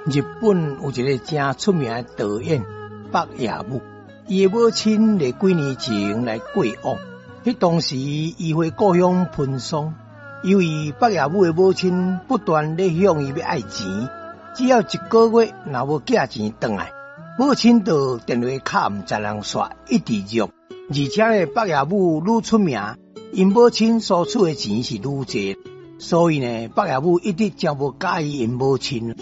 日本有一个誠出名的導演北野武，伊的母親佇幾年前來過往，彼當時伊回故鄉奔喪，由於北野武的母親不斷咧向伊欲愛錢，只要一個月若無寄錢轉來，母親就電話敲毋知人煞，一直約。而且呢，北野武愈出名，𪜶母親所出的錢是愈濟，所以呢，北野武一直誠無佮意𪜶母親。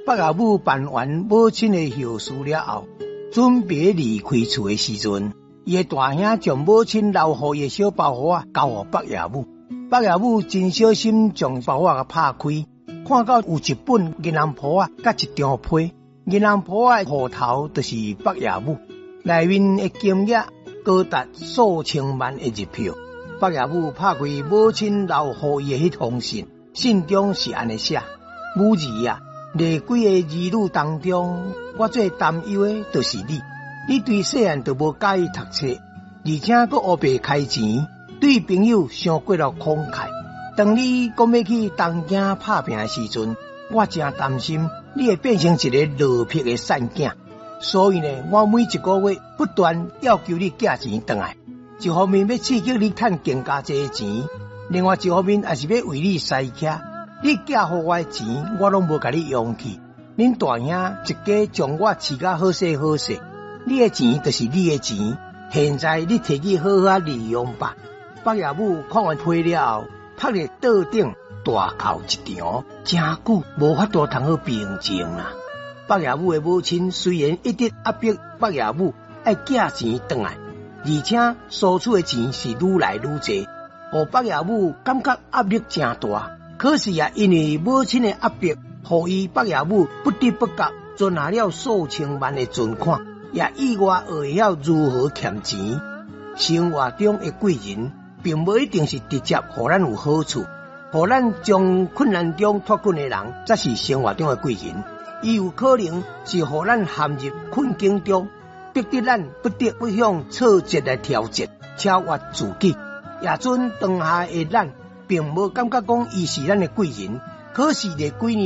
北野武辦完母親的後事了後，準備離開厝的時陣，伊的大兄將母親留予伊的小包袱仔交予北野武。北野武真小心將包袱仔拍開，看到有一本銀行簿仔，佮一張批。銀行簿仔的戶頭就是北野武，內面的金額高達數千萬的日票。北野武拍開母親留予伊的彼封信，信中是按呢寫：母兒啊，佇幾个兒女當中，我最擔憂的就是你。你對細漢就無佮意讀冊，而且閣烏白開錢，對朋友傷過頭慷慨。當你講欲去東京拍拚的時陣，我誠擔心你會變成一个落魄的散囝。所以呢，我每一個月不斷要求你寄錢轉來，一方面欲刺激你趁更加濟錢，另外一方面也是欲為你使車。你寄予我的錢，我攏無共你用去。恁大兄一家將我飼甲好勢好勢，你的錢就是你的錢，現在你提去好好利用吧。北野武看完批了後，趴佇桌頂大哭一場，誠久無法度通好平靜啦。北野武的母親雖然一直壓迫北野武愛寄錢轉來，而且索取的錢是愈來愈濟，予北野武感覺壓力誠大。可是啊，因為母親的壓迫，予伊北野武不知不覺存下了數千萬的存款，也意外學會曉如何儉錢。生活中的貴人，並無一定是直接予咱有好處，予咱從困難中脫困的人，才是生活中的貴人。伊有可能是予咱陷入困境中，逼得咱不得不向挫折來挑戰，超越自己。也準當下的咱，並無感覺講伊是咱的貴人，可是佇幾年。